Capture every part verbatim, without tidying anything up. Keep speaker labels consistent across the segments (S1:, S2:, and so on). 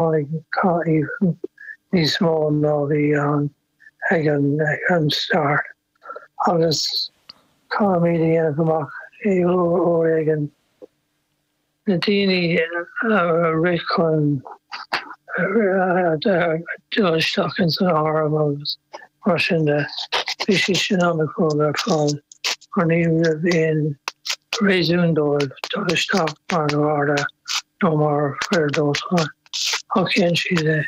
S1: Tháinig cath níos mó ná bhí ann ag an ag an start agus caithfimid a dhéanamh amach uair éigin na daoine a rith chun dul isteach ins an arm agus mar sin de, bhí siad sin an-chruaidh ar fad mar ní raibh aon réasún dóibh dul isteach mar gharda nó mar fir dóiteáin ach dhein siad é.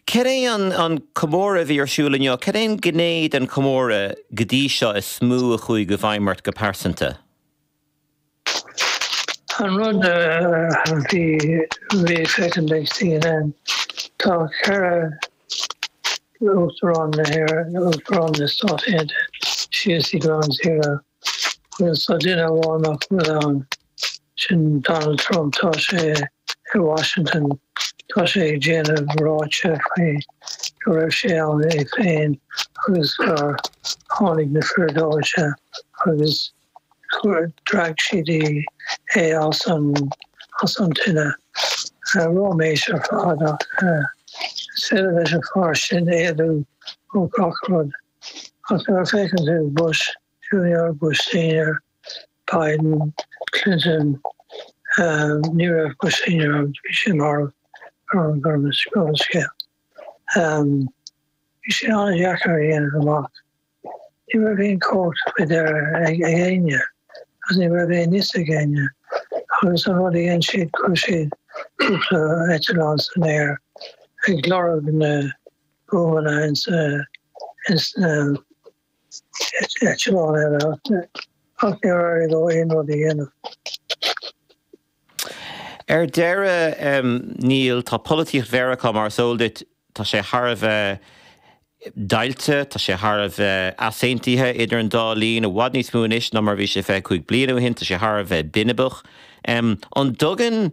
S2: Cad é an comóradh a bhí ar siúl inniu? Cad é an ghné den chomóradh go dtí seo is mó a chuaigh i bhfeidhm ort go pearsanta?
S1: An rud a bhí bhí ag féachaint ag C N N, tá ceithre Uachtarán na hÉireann, Uachtarán na Stát Aontaithe síos i Ground Zero agus tá duine amháin nach bhfuil ann, sin Donald Trump. Tá sé i Washington, tá sé ag déanamh ráite faoi go raibh sé ann é féin agus gur tháinig na fir dóite agus spreag siad é as an as an tine. Ráiméis ar fad, ach is féidir leis an fear sin éalú ó gach rud. Ach nuair a féachann tú Bush Junior, Bush Senior, Biden, Clinton, ní raibh Bush Senior, bhí sé marbh ar an gcuma scéil. Bhí sé an-deacair a dhéanamh amach. Ní raibh aon chumhacht faoi dheireadh ag éinne agus ní raibh aon fhios ag éinne agus an rud a dhein siad, chuir siad cúpla eitleán san aer ag lorg na buamanna ins ins na eitleáin eile ach níor éirigh leo aon rud a dhéanamh.
S2: Ar deireadh, Neil, tá polaitíocht Mheiriceá, mar is eol duit, tá sé thar a bheith deighilte, tá sé thar a bheith easaontaithe idir an dá linn, i bhfad níos mó anois ná mar bhí sé fiche cúig bliain ó shin, tá sé thar a bheith binibeach. An dtugann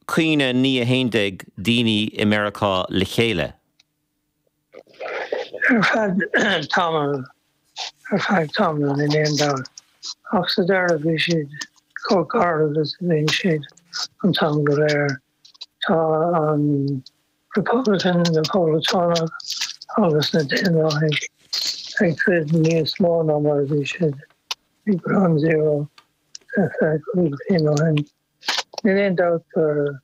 S2: caoineadh naoi a haon déag daoine i Meiriceá le chéile?
S1: Ar feadh tamaill, ar feadh tamaill, níl aon dabht. Ach sa deireadh bhí siad chomh garbh is a bhíonn siad an t-am go léir. Tá an Republican, na Poblachtánach agus na Daonlathaigh ag troid níos mó ná mar a bhí siad ag Ground Zero fiche cúig bliain ó shin. Níl aon dabht gur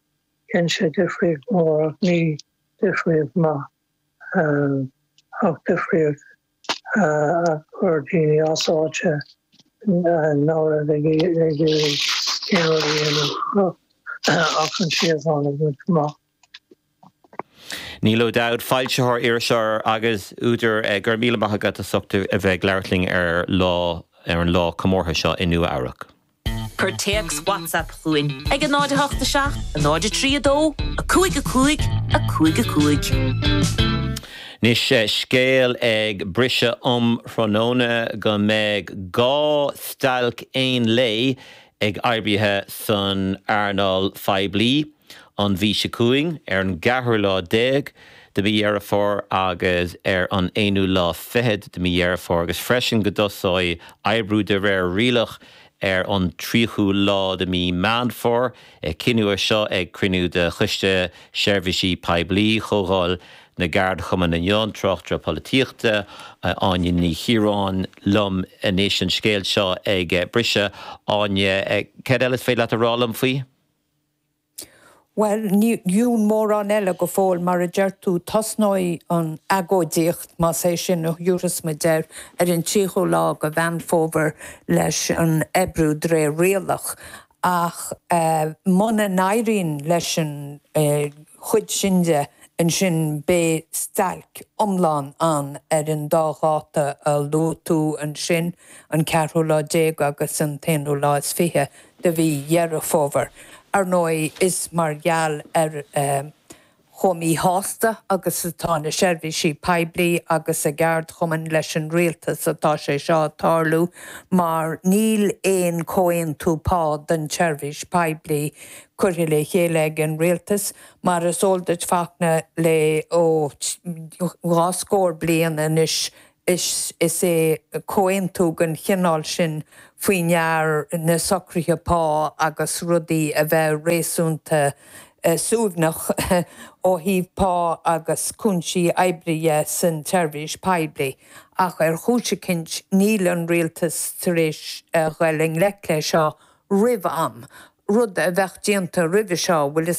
S1: dhein sé difríocht mhór, ach ní difríocht maith, ach difríocht a chuir daoine as áite nach raibh ag iarraidh aon rud a dhéanamh ach an síocháin a bhaint amach.
S2: Neil O'Dowd, foilsitheoir, iriseoir agus údar, go raibh míle maith agat as ucht a bheith ag labhairt linn ar lá ar an lá comórtha seo i Nua Eabhrac.
S3: Cuir téacs WhatsApp chugainn ag a náid a hocht seacht, a náid a trí dó, a cúig a cúig, a cúig a cúig.
S2: Anois, scéal ag briseadh um thráthnóna go mbeidh dhá stailc aon lae ag oibrithe san earnáil phoiblí an mhí seo chugainn, ar an gceathrú lá déag de mhí Dheireadh Fómhair agus ar an aonú lá fichead de mhí Dheireadh Fómhair, agus freisin go dtosóidh oibriú de réir rialach ar an tríochú lá de mhí Meán Fómhair. Cinneadh é seo ag cruinniú de Choiste Seirbhísí Poiblí Chomhdháil na gCeardchumann inniu. An tráchtaire polaitíochta Áine Ní Chiaráin liom anois, an scéal seo ag briseadh. Áine, cad eile is féidir leat a rá liom faoi?
S4: Well, níl mórán eile go fóill. Mar a deir tú, tosnóidh an agóidíocht, más é sin a thabharfas muid air, ar an tríochú lá de Mheán Fómhair leis an oibriú de réir rialach, ach uh, muna n-éiríonn leis an uh, chuid sin de, ansin beidh stailc iomlán ann ar an dá dháta a luaigh tú ansin, an ceathrú lá déag agus an t-aonú lá is fiche de mhí Dheireadh Fómhair. Ar ndóigh, is mar gheall ar uh, chomh míshásta agus atá na seirbhísí poiblí agus a gceardchumainn leis an rialtas atá sé seo ag tarlú, mar níl aon chomhaontú pá don tseirbhís poiblí curtha le chéile ag an rialtas. Mar is eol duit, Fachtna, le ó dhá scór bliain anois. Is is é comhaontú den chineál sin faoi ndear na socruithe pá agus rudaí a bheith réasúnta suaimhneach ó thaobh pá agus cúinsí oibre san tseirbhís poiblí. Ach ar chúis eicínt níl an rialtas tar éis a dhul i ngleic leis seo roimh am. Rud a bheadh déanta roimhe seo bhfuil